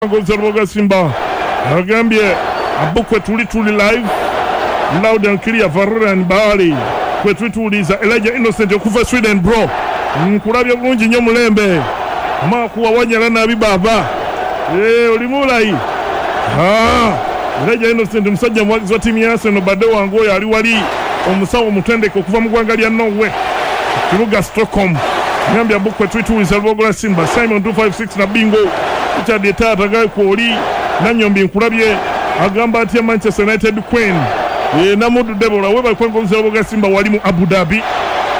Ngozi Simba agambye abukwe tuli tuli live loud and clear Varane Bali kwe tutuuliza Elijah Innocent okuva Sweden bro, nkulabye bulungi nnyo mulembe makuwa wanyala nabi baba oli mulayi. Elijah Innocent musajja muwagizi wa ttiimu ya Arsenal, badde wange oyo ali wali omusawo omutendeke okuva mu ggwanga lya Norway, kibuga Stockholm. Ngambye abukwe tutuuliza Lubogola Simba Simon 256 na bingo Richard Etaata gaye kwoli Nanyombi nkulabye agamba atya Manchester United Queen Namudu Debola webale kwengoza Lubogola Simba wali mu Abu Dhabi.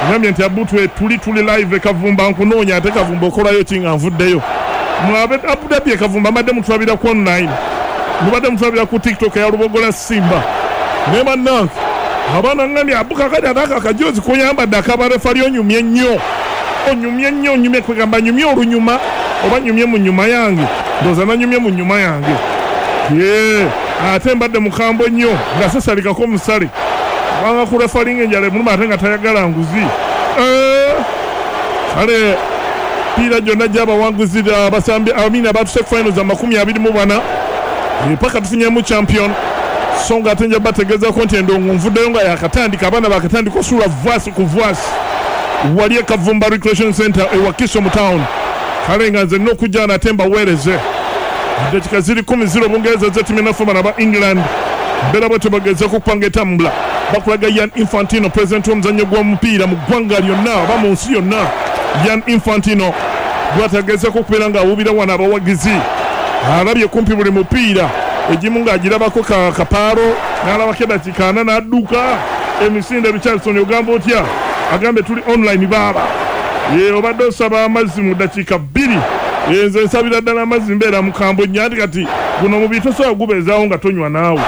Ngambye nti abutwe tuli tuli live Kavumba nkunoonya ate Kavumba okolayo ki nga nvuddeyo mwabe Abu Dhabi. Kavumba mbadde mutulabira ku online, mubadde mutulabira ku TikTok ya Lubogola Simba ne bannange abaana. Ngambye abuka kati ate ako akajozi koyambadde akabarefali onyumye nnyo, onyumye nnyo, onyumye kwegamba nyumye olunyuma oba nyumye mu nyuma yange, ndowooza nanyumye mu nyuma yange. Ye ate mbadde mukambwe nnyo nga sesalikako omusale kubanga ku refalinga enjala emuluma ate nga tayagala nguzi. Kale piira gyonna gy'abawanguzi abasambi amina batuse ku finals 24 paka tufunyemu champion. So nga ate nja bategeezako nti endongo nvuddeyo nga yakatandika, abaana bakatandika osuula vwasi ku vwasi wali e Kavumba Recreation Center e Wakiso mu town. Kale nga nze nina okujja nate mbaweereze. Eddakiika ziri 10-0, Bungereza zetimye naffe bano aba England. Mbeera bwe tebagezeko okupanga etambula bakulaga Yan Infantino, pulezidenti w'omuzannyo gw'omupiira mu ggwanga lyonna oba mu nsi yonna. Yan Infantino gwatagezeko okubeera ng'awuubira wano abawagizi, alabye kumpi buli mupiira egimu ng'agirabako kapaalo n'alabako eddakiika 40 n'adduka emisinde. Richardson ogamba otya? Agambe tuli online baaba. Ye obadde osaba amazzi mu ddakiika 2. Nze nsabira ddala amazzi, mbeera mukambwe nnyo anti kati guno omubiri tosobola gubeezaawo nga tonywa naawe.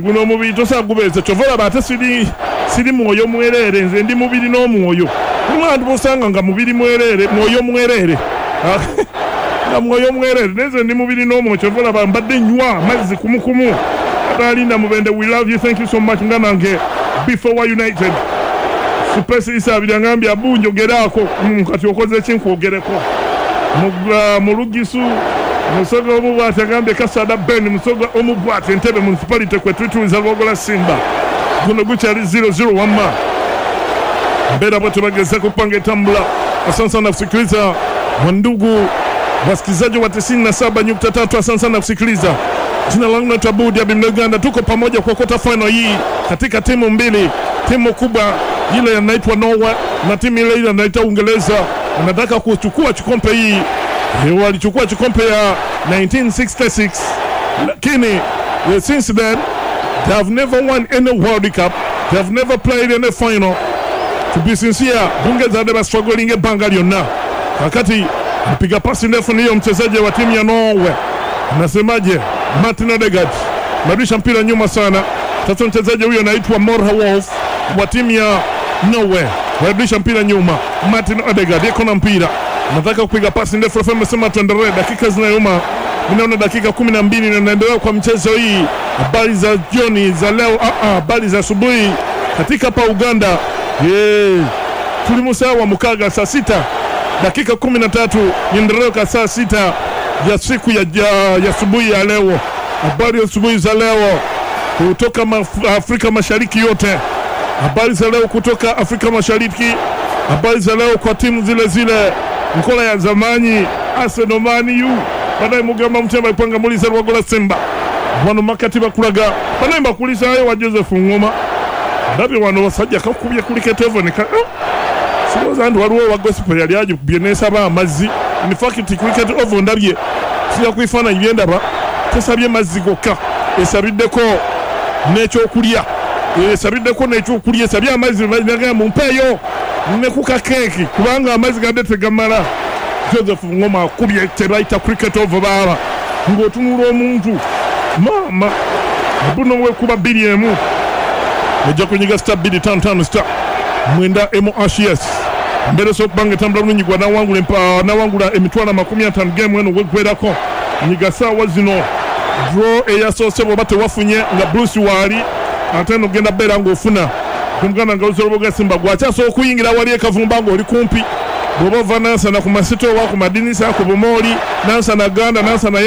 Guno omubiri tosobola gubeeza, kyova olaba ate siri mwoyo mwereere, nze ndi mubiri n'omwoyo. Mulimu abantu bosanga nga mubiri mwereere, mwoyo mwereere, nga mwoyo mwereere, naye nze ndi mubiri n'omwoyo, kyova olaba mbadde nywa amazzi kumukumu. Atalinda Mubende, we love you, thank you so much. Nga nange before United Supesi Isabiri angambye abu njogeraako. Kati okoze ki nkwogereko mu Lugisu? Musoga omu bwati agambye Kasada Ben Musoga omu bwati Entebbe Municipality kwe twituliza Lwogola Simba. Guno gukyali 0-0 wamma mbeera bwe tebagezako kupanga etambula. Asante sana kusikiliza wandugu wasikilizaji wa 97.3, asante sana kusikiliza. Jina langu naitwa Budi Abi Uganda, tuko pamoja kwa quarter final hii katika timu mbili, timu kubwa ile inaitwa Norway na timu ile ile inaitwa Uingereza. Wanataka kuchukua kikombe hii. Walichukua kikombe ya 1966 lakini since then they have never won any World Cup, they have never played any final. To be sincere, Bungereza ba struggling ebbanga lyonna. Kakati mpiga pasi ndefu niyo mchezaji wa timu ya Norway, nasemaje, Martin Odegaard marudisha mpira nyuma sana. Sasa mchezaji huyo anaitwa Morha Wolf wa timu ya Norway warudisha mpira nyuma. Martin Odegaard yuko na mpira, nataka kupiga pasi ndefu. Refa amesema tuendelee, dakika zinayuma, ninaona dakika 12 na naendelea kwa mchezo hii. Habari za jioni za leo, habari za asubuhi katika hapa Uganda. Tuli musawa wa mukaga saa 6 dakika 13, niendelee kwa saa 6 ya siku ya asubuhi ya leo. Habari ya asubuhi za leo kutoka Afrika Mashariki yote, habari za leo kutoka Afrika Mashariki, habari za leo kwa timu zile zile mkola ya zamani Arsenal, Man U, baadaye mugamba mtemba ipanga muliza Lwagola Simba wano makati bakulaga banaye mbakulizayo wa Joseph Ngoma ndabye wano basajja kakubye kuli ketevo ne siroza nti waliwo wa gospel yali agikubye nesaba amazzi. In fact cricket oval ndabye sija kuifaananyi byendaba tesabye mazzi gokka, esabiddeko n'ekyokulya, esabiddeko n'ekyokulya, esabye amazzi nagamba mumpeeyo ne ku kakeeki kubanga amazzi gadde tegamala. Joseph Ngoma akubye tebayita cricket oval baaba ng'otunula omuntu maama buno wekuba 2-1. Ojja kunyiga star 255 star 9 MHS mbere so kubanga etambula bulungi gwa nawangula emitwalo 50 game eno weggwerako. Nyiga saawa zino draw eyasoose bw'oba tewafunye nga Bruce waali ate eno genda beera ng'ofuna kumuganda nga Luboga Simba gwakyasobola okuyingira wali e Kavumba ng'oli kumpi Bw'oba ova Nansana ku masitoowa, ku madinisa, ku bumooli, Nansana Ganda, Nansana.